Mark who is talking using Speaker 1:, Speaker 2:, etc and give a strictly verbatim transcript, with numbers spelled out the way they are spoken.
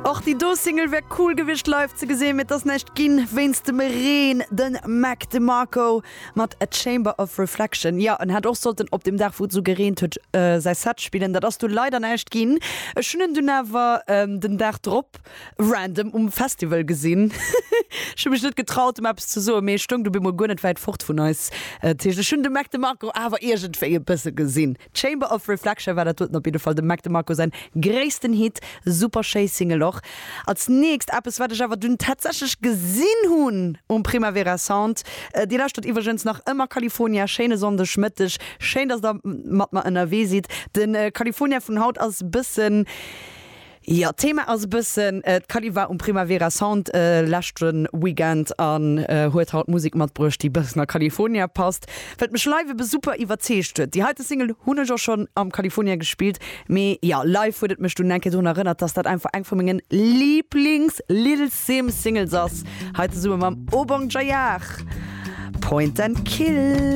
Speaker 1: Och déi do Single wär cool gewiescht live ze gesinn, mee et ass näischt ginn wéinst dem Reen. Den Mac DeMarco mat A Chamber of Reflection. Jo, en hätt och sollten op dem Dag wou et sou gereent huet säi Set spillen. Dat ass du leider näischt ginn. Ech hunn en dunn awer den Dag drop random um Festival gesinn. Ech hu mech net getraut em eppes ze soen, mee e stoung du bemol guer net wäit fort vun eis. Dat heescht ech hunn de Mac DeMarco awer iergendwéi e bësse gesinn. Chamber of Reflection war dat doten op jidde Fall dem Mac DeMarco säin gréissten Hit. Super schéi Single och. Als nächst eppes wat ech awer dunn tatsächlech gesinn hunn um Primavera Sound. Dir lauschtert iwwregens nach ëmmer California. Schéine Sonndeg Mëtteg. Schéin dass der mat mer ënnerwee sidd. De California vun haut ass bëssen, jo, d'Thema ass e bëssen, d'Cali war um Primavera Sound leschte Weekend an huet haut Musek matbruecht, déi bëssen a California passt, wat mech live ebe super iwwerzeegt huet. Déi heite Single hunn ech och schonn am California gespillt, mee jo, live huet et mech dunn eng Kéier drun erënnert, dass dat einfach eng vu mengen Lieblings-Little Simz Singles ass. Hei zesumme mam Obongjayar, Point and Kill.